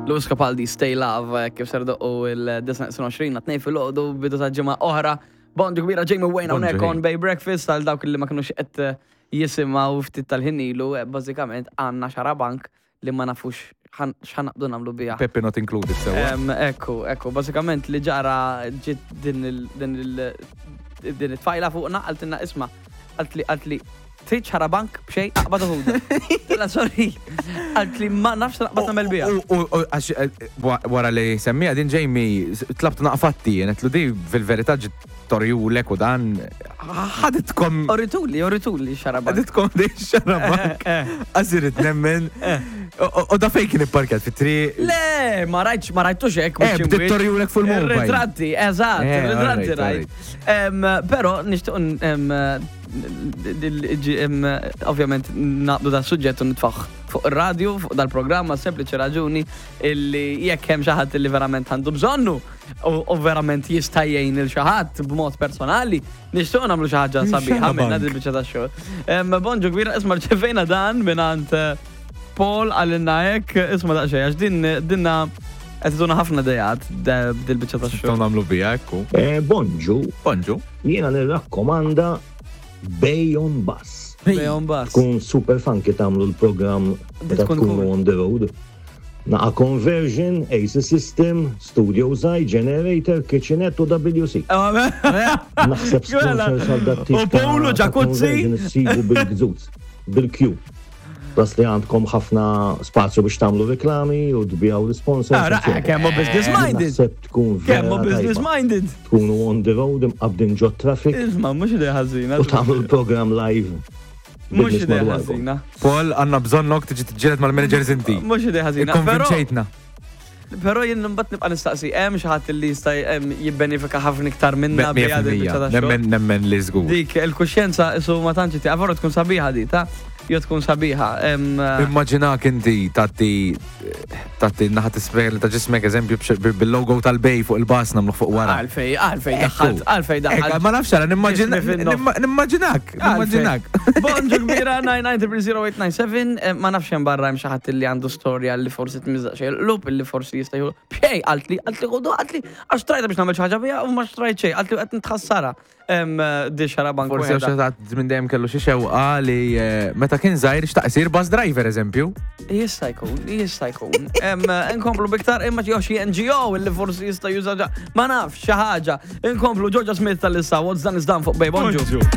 Lewis Capaldi, Stay Love, eh, kif ser doqqu il-29 għat-tnejn fil-ħodu bidu ta' ġimgħa oħra. Bonġu kbira Jamie Wayne hawnhekk on Bay Breakfast għal dawk li ma kinux qed eh, jisimgħu ftit tal-ħin ilu, eh, bażikament għandna xarabank li ma nafux x'ħanaqdu nagħmlu biha. Pepe not included sewa. Ekku, ekku, bażikament li ġara ġiet din il din it-tfajla fuqna qaltilna isma' qaltli qaltli trid xarabank b'xejn aqbad u ħuda. Tilla sorry. Qaltli ma nafx naqbad nagħmel biha. U għax eh, wara li semmija din Jamie tlabt naqfatti, għetlu di fil-verità ġiet torjulek u dan ħaditkom. Orituli, orituli xarabank. Ħaditkom di xarabank. Eh, eh. Għazirit nemmen. U da fejn kien ipparkjat fit-triq? Le, ma rajtx, ma rajtux hekk. Eh, bdiet torjulek fuq il-mobile. Ritratti, eżatt, ritratti rajt. Però nixtieq ovvjament naqdu da suġġett u nitfaħ fuq ir-radju, fuq dal-programma, sempliċi raġuni illi jekk hemm xi ħadd illi verament għandu bżonnu u verament jista' jgħin il xi ħadd b'mod personali, nixtieq nagħmlu xi ħaġa sabiħa minna din biċċa tax-xogħol. Bonġu kbira isma' rċevejna dan mingħand eh, Paul għalinna hekk, isma' daqsxejn għax din dinna qed iduna ħafna dejat dil-biċċa tax-xogħol. Nagħmlu biha ekku. Eh, bonġu. Bonġu. Jiena nirrakkomanda Bay on Bus. Bay on Bus. Tkun super funky tagħmlu l-programm meta tkunu on the road. Naqa conversion, AC system, studio żgħir, generator, kitchenette u WC. Naħseb sponsors għal dat tip. U Polo ġakuzzi. Sibu bil-gżuz, bil-Q. Plus li għandkom ħafna spazju biex tagħmlu reklami u tbijaw l-sponsors. Ara, kemm business minded. Naħseb tkun Kemm business minded. Tkunu on the road imqabdin ġo traffic. Isma' mhux idea ħażina. U tagħmlu l-programm live. Mhux idea ħażina. Paul, għandna bżonnok tiġi tiġġieled mal-managers inti. Mhux idea ħażina. Konvinċejtna. Però jien mbagħad nibqa' nistaqsi, hemm xi ħadd li jista' jibbenefika ħafna iktar minna biha din biċċa ta' xogħol. Nemmen nemmen li żgur. Dik il-kuxjenza isu ma tantx ti avora tkun sabiħa di ta' jew tkun sabiħa. Immaġinak inti tagħti tagħti naħa tisfel ta' ġismek eżempju bil-logo tal-bej fuq il-bas nagħmlu fuq wara. Għalfej, għalfej daħħalt, għalfej daħħalt. Ma nafx għala nimmaġinak, nimmaġinak. Bonġu kbira 9900897, eh, ma nafx hemm barra hemm xi ħadd li għandu storja li forsi tmiżaq xejn l-lup li forsi jista' jieħu. Bxej, qaltli, qaltli ħudu, qaltli għax trajta biex nagħmel xi ħaġa biha u ma xtrajt xejn, qaltli qed nitħassara. Di xarabank. Forsi għax ħadd minn dejjem kellu xi xewqa li eh, meta kien żgħir xtaq isir bus driver eżempju. Jista' jkun, jista' jkun. Inkomplu biktar imma xi xi NGO li forsi jista' juża ma nafx xi ħaġa. Inkomplu Georgia Smith tal-issa, what's done is done fuq Bay Bonġu.